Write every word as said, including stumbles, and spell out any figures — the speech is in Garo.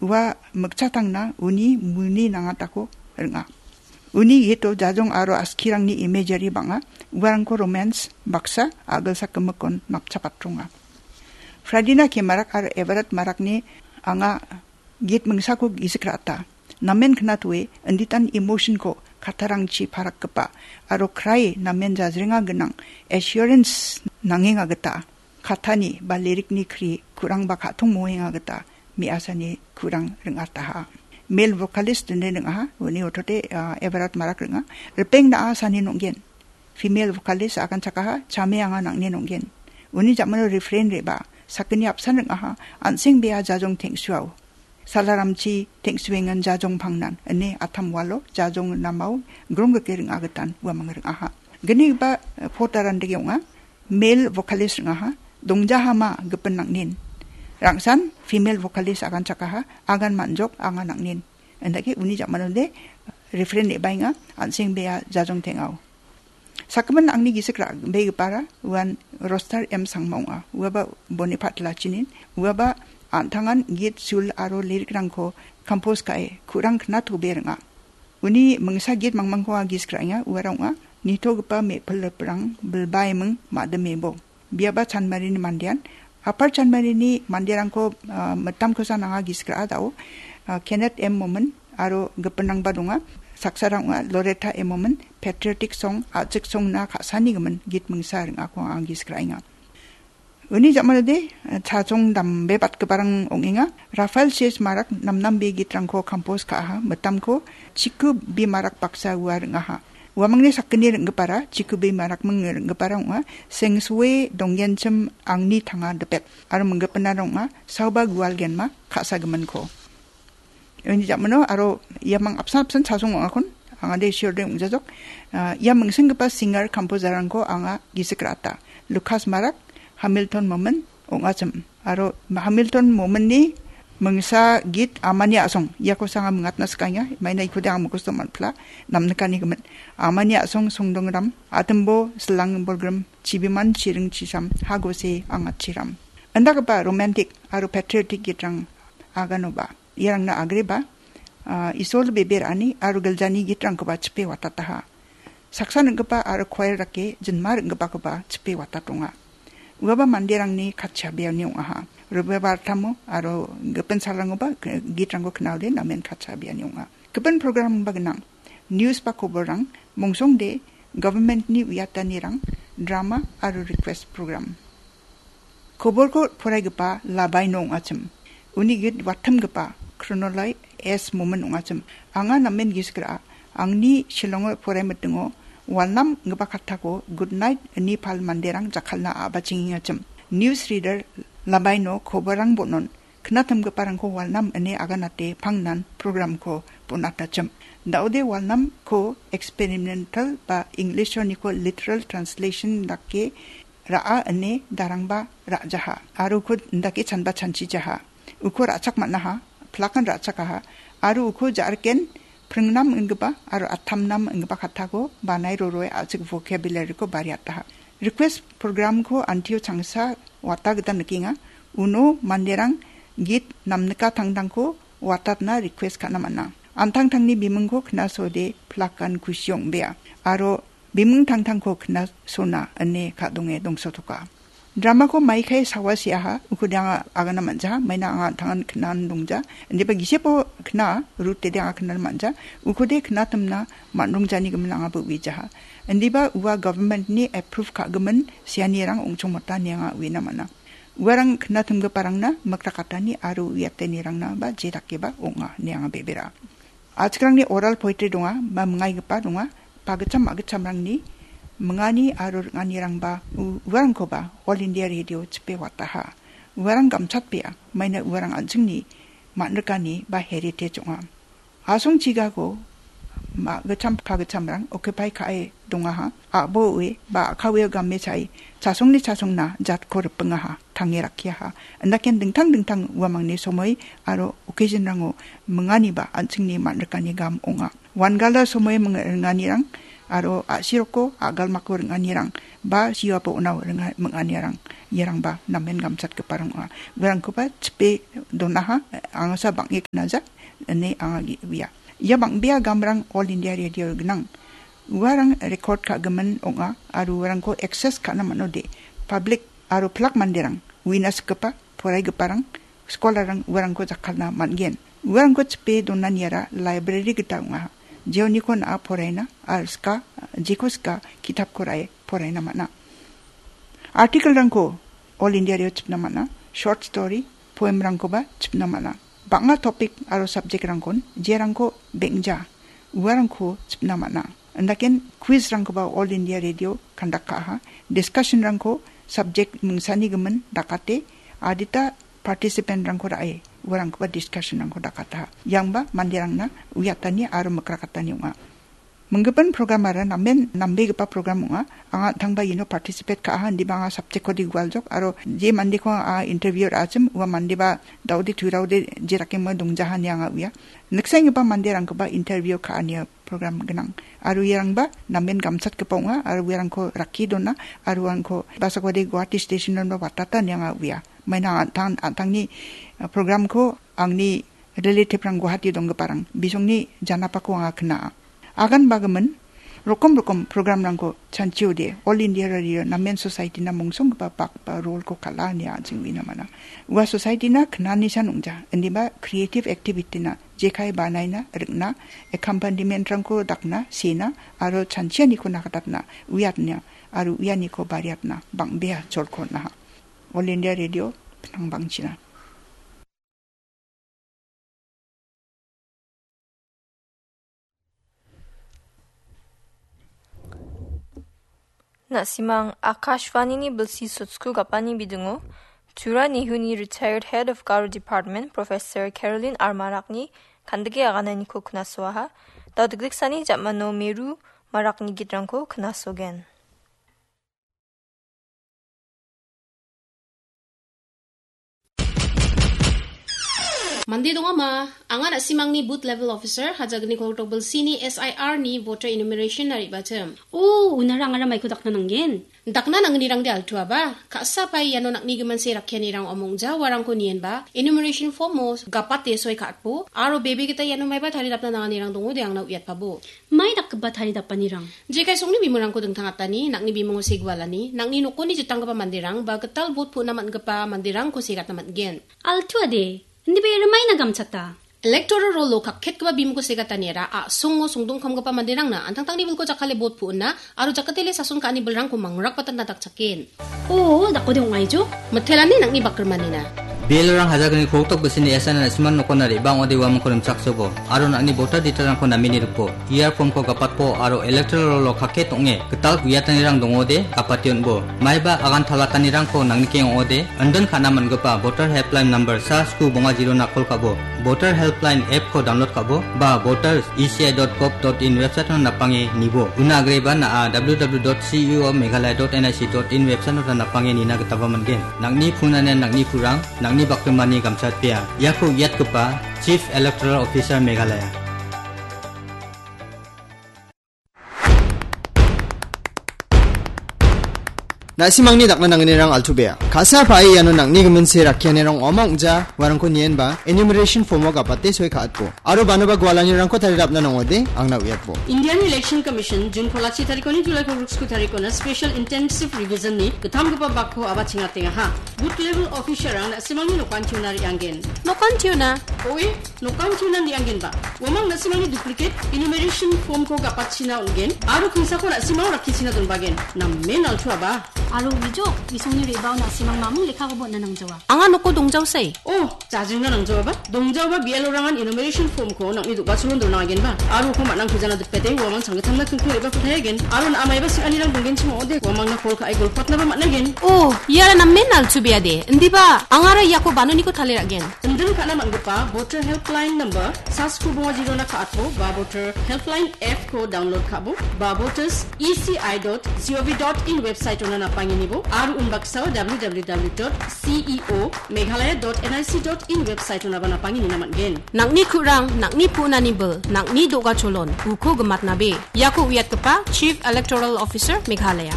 Ua mikchatangna uni muni nangatako ring·a. Uni gito jajong aro askirangni imagery bang·a, uarangko romance baksa agilsakgimikon napchapatronga. Fradina Kemarak aro Everett Marakni anga git mingsako gisik ra·ata. Namen knatoe inditan emotionko kattarangchi parakgipa aro cry namen jajrenga ginang assurance nangenga gita katani ba lyricni kri kurangba ka·tong moenga gita me·asani kurang ring·ataha. Male vocalist ine ring·aha, uni otode, ah, Everett Marak ring·a. Ripeng na·a sani nong·gen. Female vocalist aganchakaha, chame anga nang·ne nong·gen. Uni jamano refrain re·ba, sakgni apsan ring·aha, an·seng bea jajong teng·suao. Salaramchi teng·suengan jajong pangnan, ine atam walo jajong namao gronggrike ring·agitan uamang ring·aha. Gnigipa, eh, pot arandege ong·a, male vocalist ring·aha, dongjahama gipin nang·nin. Rangsan female vocalist aganchakaha, agan man·jok anga nang·nin. Indake uni jamanode refrain re·baenga, an·seng bea jajong teng·ao. Sakgimina angni gisik ra·begipara uan Roster M Sangma ong·a. Uaba Bonipat Lachinin, uaba an·tangan git sul aro lyric-rangko compose ka·e kurang knatobe ring·a. Uni mingsa git mangmangko anga gisik ra·enga, uara ong·a, nitogipa me·pil riprang bilbaiming madimebo. Biaba Chanmarini mandean, Apar Chanmarini manderangko, ah, mitamkosan anga gisik ra·a dao, ah, Kenneth M Momin aro gipinrangba donga. Saksarang ong·a Loretta M Momin, patriotic song, a·chik songna ka·sanigimin git mingsa ring·ako anga gisik ra·enga. Uni jamanode, eh, chachong dambebatgiparang ong·enga. Rafael C S Marak namnambe gitrangko compose ka·aha, mitamko Chiku B Marak baksa ua ring·aha. Uamangni sakgni ring·gipara, Chiku B Marakming ring·gipara ong·a, Sengsoe Donggenchim Angni Tanga Dipet, aro minggipinara ong·a, Saoba Gualgenma Ka·sagiminko. Uni jamano aro iamang apsan apsan chasong ong·akon, angade siorde ong·jajok. Ah, ia mingsenggipa singer composer-rangko anga gisik ra·ata. Lucas Marak, Hamilton Momin, ong·achim. Aro Hamilton Mominni mingsa git Amani A·song, iako sanga mingatna sikaenga, maina ikode ang mukosto man·pila, namnikanigimin. Amani A·song Songdongram, Atimbo Silang Bolgrim, Chibiman Chiring Chisam, Hagose Angatchiram. Indakgipa romantic aro patriotic gitrang aganoba. Iarangna agreba, ah, Isol bebe ra·ani aro giljani gitrangkoba chipe watataha. Saksa ning·gipa aro choir dake jinma ring·gipakoba chipe watatonga. Uaba manderangni katchabeani ong·aha. Robibar tamo aro gipin salrangoba k-, gitrangko knaode namen katchabeani ong·a. Gipin programba gnang. News ba koborrang, mongsongde, government-ni uiatanirang, drama aro request program. Koborko poraigipa Labaino ong·achim. Uni git wattimgipa Chronoloy S Momin ong·achim. Anga namen gisik ra·a, angni Shillongo poraimitingo Walnam inggipa kattako Good Night ine pal manderang jakkalna a·bachengengachim. News reader Labaino koborrang bon·on, knatimgiparangko Walnam ine aganate pangnan programko bon·atachim. Daode Walnamko experimental ba English-oniko literal translation dake ra·a ine darangba ra·jaha. Aro uko indake chanba chanchijaha. Uko ra·chak man·aha, plakan ra·chakaha. Aro uko ja·riken pringnam ingipa aro attamnam ingipa kattako banai roroe a·chik vocabulary-ko bariataha. Request programko antio changsa wata gita nikenga. Uno manderang git namnika tangtangko watatna request ka·na man·a. Antangtangni bimingko knasode plakan kusi ong·bea. Aro biming tangtangko knasona ine ka·donge dongsotoka. Dramako maikai sawa seaha, ukode anga agana man·jaha, maina anga an·tangan knan dongja. Indiba gisepo kna, rutede anga knan man·ja, ukode knatimna man·rongjani gimin angaba uijaha. Indiba ua government-ni approve ka·gimin seanirang ong·chongmota ine anga uina man·a. Uarang knatimgiparangna mikrakatani aro uiatenirangna ba jedakeba ong·a ine anga bebera. A·chikrangni oral poetry donga, ba mingaigipa donga, pagitcham magitchamrangni mingani aro ring·anirangba u-, uarangkoba All India Radio chipe wataha. Uarang gamchatbea, maina uarang an·chingni man·rikani ba heritage ong·a. Asongchigako magitcham pagitchamrang occupy ka·e dongaha, a·boe ba a·kaweo game cha·e, chasongni chasongna jatko ripingaha, tange rakkiaha. Indaken dingtang dingtang uamangni somoi aro occasion-rango minganiba an·chingni man·rikani gam ong·a. Wangala somoi ming-, ringanirang aro a·siroko agalmako ring·anirang ba siapo unao ringa-, ming·anirang, iarangba namen gamchatgiparang ong·a. Uarangkoba chipe donaha, angasa bang·e knaja, ine anga ge-, uia. Ia bang·bea gamrang All India Radio gnang. Uarang record ka·gimin ong·a aro uarangko access ka·na man·ode, public aro pilak manderang, uina sikgipa, poraigiparang, scholarrang uarangko jakkalna man·gen. Uarangko chipe donaniara library gita ong·a. Jeoniko na·a poraina, aro sika, jeko sika, kitapko ra·e poraina man·a. Article-rangko All India Radio chipna man·a, short story, poem-rangkoba chipna man·a. Bang·a topic aro subject-rangkon, jerangko beng·ja, uarangko chipna man·a. Indaken quiz-rangkoba All India Radio conduct ka·aha. Discussion-rangko subject mingsani gimin dakate, adita participant-rangko ra·e, uarangkoba discussion-rangko dakataha. Iangba manderangna uiatani aro mikrakatani ong·a. Minggipin program-ara namen nambegipa program ong·a. Anga an·tangba iano participate ka·aha, indiba anga subject-kode gualjok, aro je mandeko anga interview ra·achim, ua mandeba daode tuiraode je rakemo dongjaha ine anga uia. Niksaenggipa manderangkoba interview ka·ania program gnang. Aro iarangba namen gamchatgipa ong·a, aro uarangko rakkie dona, aro uarangko basakode Guwahati station-o watata ine anga uia. Maina an·tang, an·tangni, eh, program-ko angni relative-rang Guwahati donggiparang bisongni janapako anga kna·a. Agan bagimin, rokom rokom program-rangko chanchiode All India Radio namen society-na mongsonggipa bak ba role-ko kal·a ine an·ching uina man·a. Ua society-na knanisan ong·ja, indiba creative activity-na jekai banaina, rikna, accompaniment-rangko dakna, sena, aro chanchianiko nakatatna, uiatna, aro uianiko bariatna, bang·bea cholko on·aha. All India Radio, Pinang Bangchina. Na·simang Akashvanini bilsi sotsku gapani bidingo Tura Nehuni retired head of Garo Department, Professor Caroline R Marakni kandike agananiko knasoaha. Dao dikdiksani jamano Meru Marakni gitrangko knasogen. Mande dongama, anga na·simangni booth level officer, hajagni koltok bilsini S I R ni voter enumeration na re·bachim. O, unara angara maiko dakna nanggen? Dakna nangnirangde altuaba, ka·sa pai iano nang·ni gimin se rakkianirang omongja uarangko nienba, enumeration form-o gapate soi ka·atbo, aro bebe gita iano maiba taridapna nanganirang dongode angna uiatpabo. Mai dakgipa taridapanirang? Jekai songni bimungko dingtangatani, nang·ni bimungo segualani, nang·ni nokoni jitanggipa manderang, ba gital vote pu·na man·gipa manderangko segatna man·gen. Altuade, indiba ia rimaina gamchata. Electoral roll-o kakketgipa bimungko segataniara a·songo songdongkamgipa manderangna an·tangtangni bilko jakkale vote pu·na, aro jakatele sason ka·ani bilrangko mangrakbatatna dakchaken. O, dakode ong·aijo? Mitelani nang·ni bakrimanina. B L O-rang hajagni koltok bisini S I R na·simang nokona re·bang ong·ode uamangko rimchaksobo, aro nang·ni voter detail-rangko namini ripo, E R form-ko gapatpo, aro electoral roll-o kakket ong·e, gital uiatanirang dongode, gapate on·bo. Maiba agan talatanirangko nangnikeng ong·ode, indin ka·na man·gipa voter helpline number sa sku bonga zero-na call ka·bo, voter helpline app-ko download ka·bo, ba voter E C I dot gov dot in website-ona napange nibo. Una agreba na·a W W W dot C E O Meghalaya dot N I C dot in website-ota napange nina gitaba man·gen. Nang·ni phone ane nang·ni purang, nang·ni bakrimani gamchatbea. Iako uiatgipa Chief Electoral Officer Meghalaya. Na·simangni dakna nangnirang altuabea. Ka·sa pae iano nang·ni gimin se rakkianirang ong·a ong·ja, uarangko nienba, enumeration form-o gapate soi ka·atbo. Aro banoba gualanirangko taridapna nangode, angna uiatbo. Indian Election Commission June kolachi tarikoni July kolgriksku tarikona special intensive revision-ni gittamgipa bakko aba chingatengaha. Booth level officer-rang na·simangni nokantiona re·anggen. Nokantiona? Oe, nokantiona re·anggenba. Uamang na·simangni duplicate enumeration form-ko gapatchina on·gen, aro kingsako na·simang rakkichina donbagen. Namen altuaba. Aro uijo, isongni re·bao na·simang mamung lekkakoba on·na nangjawa. Anga noko dongjaosai. Oh, jajingna nangjaoaba? Dongjaoba B L O-rangan enumeration form-ko nang·ni do·gacholon donangagenba. Aro uko man·angkujana dipete uamang changgittamna kingko re·bako taiagen. Aro na·a maiba sing·anirang donggenchim ong·ode, uamangna call ka·e golpatnaba man·agen. Oh, iara namen altubeade. Indiba, angara iako banoniko tale ra·gen. Indin ka·na man·gipa voter helpline number sa sku bonga zero-na ka·atbo, ba voter helpline app-ko download ka·bo, ba voters E C I dot G O V dot in website-ona napa Panginibo aro unbaksao W W W dot C E O Meghalaya dot N I C dot in website-onaba napangini naman gen. Nangni kurang, nangni punani bil, nangni do·gacholon, uko gematnabe. Iako uiatgipa Chief Electoral Officer Meghalaya.